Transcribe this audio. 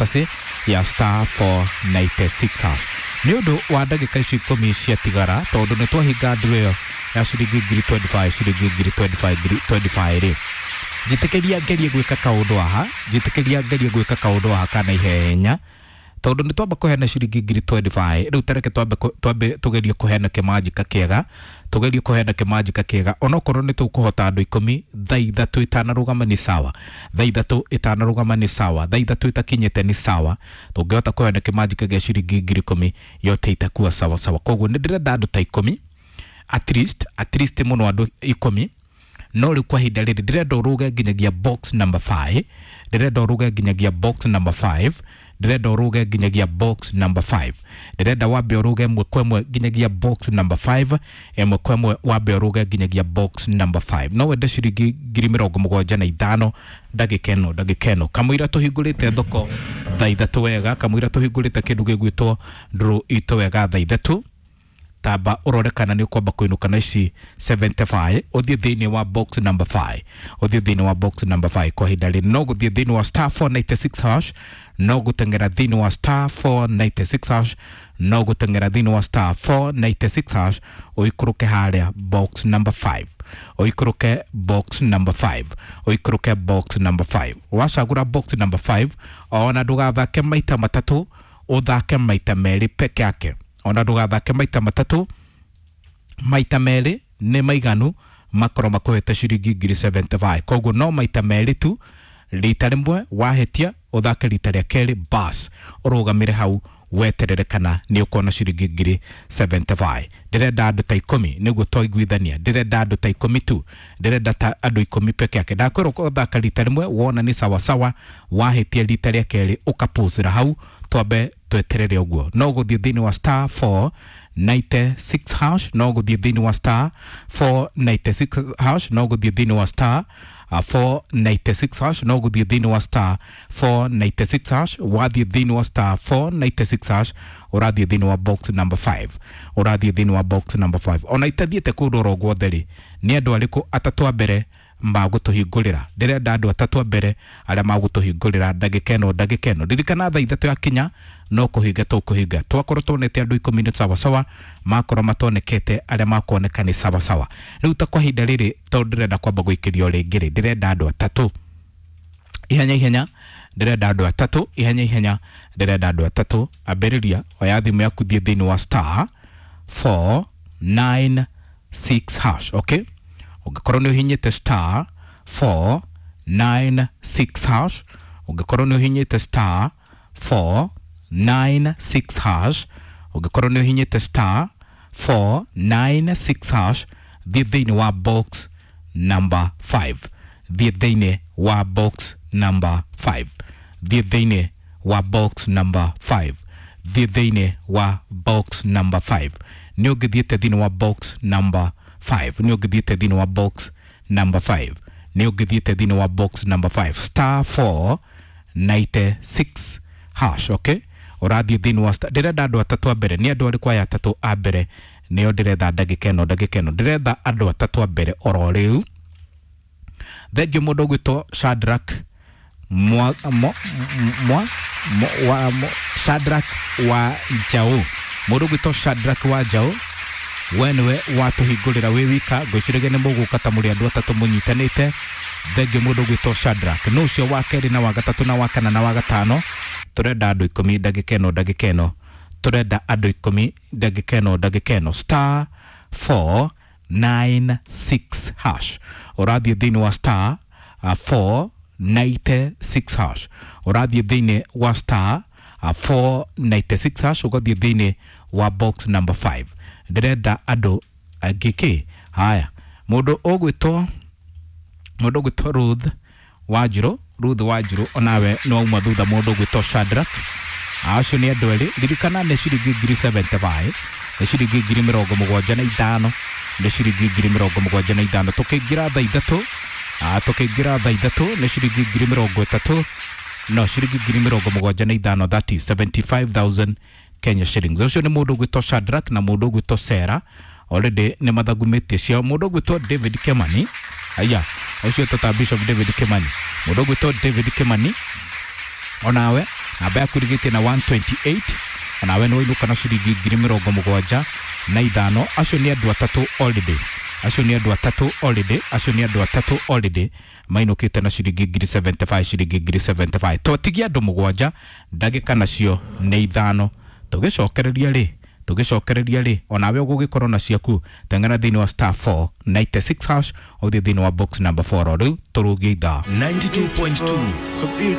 Kasi ya star 496 hash. Nĩ ũndũ wa ndagĩka icio 10 ciatigara, tondũ nĩ twahinga nduru ĩyo ya ciringi ngiri 25, ciringi ngiri 25, ngiri 25 rĩ, njĩtĩkĩria ngerie gwĩka kaũndũ haha, njĩtĩkĩria ngerie gwĩka kaũndũ haha kana ihenya, tondũ nĩ twamba kũheana ciringi ngiri 25. Rĩu tareke twambe twambe tũgerie kũheana kĩmanjika kĩega, tũgerie kũheana kĩmanjika kĩega, onokorwo nĩ tũkũhota andũ 10 thaa 3 itanarũgama nĩ sawa, thaa 3 itanarũgama nĩ sawa, thaa 3 itakinyĩte nĩ sawa. Tũngĩhota kũheana kĩmanjika gĩa ciringi ngiri 10 yote itakuwa sawa sawa. Koguo nĩ ndĩrenda andũ ta 10 at least, at least mũno andũ 10. No rĩu kwa ihinda rĩrĩ ndĩrenda ũrũge nginyagia box number 5, ndĩrenda ũrũge nginyagia box number 5, ndĩrenda ũrũge nginyagia box number 5, ndĩrenda wambe ũrũge ĩmwe kwa ĩmwe nginyagia box number 5, ĩmwe kwa ĩmwe wambe ũrũge nginyagia box number 5. No wende ciringi ngiri 75 ndagĩka ĩno, ndagĩka ĩno kamũira tũhingũrĩte thoko thaa 3 wega, kamũira tũhingũrĩte kĩndũ gĩgwĩtwo ndũrũ itũ wega thaa 3. Tamba ũrore kana nĩ ũkwamba kũinũka na ici 75, ũthiĩ thĩinĩ wa box number 5, ũthiĩ thĩinĩ wa box number 5. Kwa ihinda rĩrĩ no gũthiĩ thĩinĩ wa star 496 hash, no gũteng'era thĩinĩ wa star 496 hash, no gũteng'era thĩinĩ wa star 496 hash, ũikũrũke harĩa box number 5, ũikũrũke box number 5, ũikũrũke box number 5. Wacagũra box number 5, ona ndũgathake maita matatũ, ũthake maita merĩ peke yake. Ona ndũgathake maita matatũ, maita merĩ nĩ maiganu makorwo makũhete ciringi ngiri 75. Koguo no maita merĩ tu, rita rĩmwe wahĩtia ũthake rita rĩa kerĩ, bas ũrũgamĩre hau weterere kana nĩ ũkuona ciringi ngiri 75. Ndĩrenda andũ ta 10 nĩguo twaiguithania, ndĩrenda andũ ta 10 tu, ndĩrenda ta andũ 10 peke yake. Ndakwĩrwo ũthaka rita rĩmwe wona nĩ sawasawa, wahĩtia rita rĩa kerĩ ũkapũcĩra hau, twambe tweterere ũguo. No gũthiĩ thĩinĩ wa star 496 hash, no gũthiĩ thĩinĩ wa star 496 hash, no gũthiĩ thĩinĩ wa star 496 hash, no gũthiĩ thĩinĩ wa star 496 hash. Wathiĩ thĩinĩ wa star 496 hash, ũrathiĩ thĩinĩ wa box number 5, ũrathiĩ thĩinĩ wa box number 5. Ona itathiĩte kũndũ oro guothe rĩ, nĩ andũ arĩkũ atatũ a mbere magũtũhingũrĩra? Ndĩrenda andũ atatũ a mbere arĩa magũtũhingũrĩra ndagĩka ĩno, ndagĩka ĩno. Ririkana thaa 3 yakinya no kũhinga tũkũhinga. Twakorwo tuonete andũ 10 nĩ sawasawa, makorwo matonekete arĩa makuoneka nĩ sawasawa. Rĩu ta kwa ihinda rĩrĩ, tondũ ndĩrenda kwamba gũikĩrio rĩngĩ rĩ, ndĩrenda andũ atatũ ihenya ihenya, ndĩrenda andũ atatũ ihenya ihenya, ndĩrenda andũ atatũ. Ambĩrĩria, oya thimũ yaku, thiĩ thĩinĩ wa star 496 hash. Okay, ũngĩkorwo nĩ ũhinyĩte star 496 hash, ũngĩkorwo nĩ ũhinyĩte star 496 hash, ũngĩkorwo nĩ ũhinyĩte star 496 hash, thiĩ thĩinĩ wa box number 5, thiĩ thĩinĩ wa box number 5, thiĩ thĩinĩ wa box number 5, thiĩ thĩinĩ wa box number 5. Nĩ ũngĩthiĩte thĩinĩ wa box number 5, nĩ ũngĩthiĩte thĩinĩ wa box number 5, nĩ ũngĩthiĩte thĩinĩ wa box number 5, star 496 hash. Okay, ũrathiĩ thĩinĩ wa star. Ndĩrenda andũ atatũ a mbere. Nĩ andũ arĩkũ aya atatũ a mbere? Nĩo ndĩretha ndagĩka ĩno, ndagĩka ĩno ndĩretha andũ atatũ a mbere oro rĩu. Thengiũ mũndũ ũgwĩtwo Shadrack mwa, mwa, mwa, mwa, mwa, Shadrack wa Njaũ, mũndũ ũgwĩtwo Shadrack wa Njaũ, we nĩwe watũhingũrĩra wĩ wika. Ngwĩciragia nĩ mũgũka ta mũrĩ andũ atatũ mũnyitanĩte. Thengiũ mũndũ ũgwĩtwo Shadrack. No ũcio wa kerĩ na wa gatatũ na wa kana na wa gatano. Tũrenda andũ 10 ndagĩka ĩno, ndagĩka ĩno tũrenda andũ 10 ndagĩka ĩno, ndagĩka ĩno. Star 496 hash, ũrathiĩ thĩinĩ wa star 496 hash, ũrathiĩ thĩinĩ wa star 496 hash, ũgathiĩ thĩinĩ wa box number 5. Ndĩrenda andũ angĩ kĩ haya, mũndũ ũgwĩtwo, mũndũ ũgwĩtwo Ruth Wanjirũ, Ruth Wanjirũ onawe nĩ wauma thutha mũndũ ũgwĩtwo Shadrack. Acio nĩ andũ erĩ. Ririkana nĩ ciringi ngiri 75, nĩ ciringi ngiri 75, nĩ ciringi ngiri 75. Tũkĩingĩra thaa 3, tũkĩingĩra thaa 3 nĩ ciringi ngiri 30, no ciringi ngiri 75, that is 75,000 Kenya shillings. Ũcio nĩ mũndũ ũgwĩtwo Shadrack na mũndũ ũgwĩtwo Sarah, already nĩ mathagumĩtie ciao. Mũndũ ũgwĩtwo David Kimani, aya ũcio tata Bishop David Kimani, mũndũ ũgwĩtwo David Kimani onawe Namba yaku ĩrigĩtie na 128, onawe nĩ wainũka na ciringi 75,000. Acio nĩ andũ atatũ already, acio nĩ andũ atatũ already, acio nĩ andũ atatũ already mainũkĩte na ciringi 75,000, ciringi 75,000. Twatigia andũ mũgwanja, ndagĩka nacio nĩ 5. Tũgĩcokereria rĩ, tũgĩcokereria rĩ, onawe ũgũgĩkorwo na ciaku. Teng'era thĩinĩ wa *496# ũthiĩ thĩinĩ wa box number 4. O rĩu tũrũgie ithaa. 92.2.